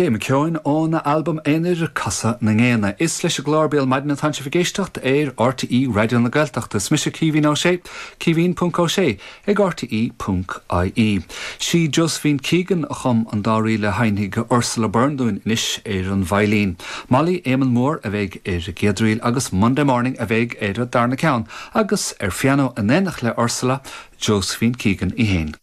Gay McKeown óna albam aonair Casadh na nGéanna. Is leis an gclár Béal Maidine atánn sibh ag éisteacht ar RTÉ Raidió na Gaeltachta. Is mise Caoimhín Ó Sé, caoimhín ponc ó sé ag rte ponc ie. Sí Josephine Keegan a chum an dá ríl a sheinnfidh Ursula Byrne dúinn anois ar an veidhlín. Molly Éamonn Mór a bheidh ar an gcéad ríl agus Monday Morning a bheidh ar an darna ceann agus ar phianó in éineacht le Ursula, Josephine Keegan í féin.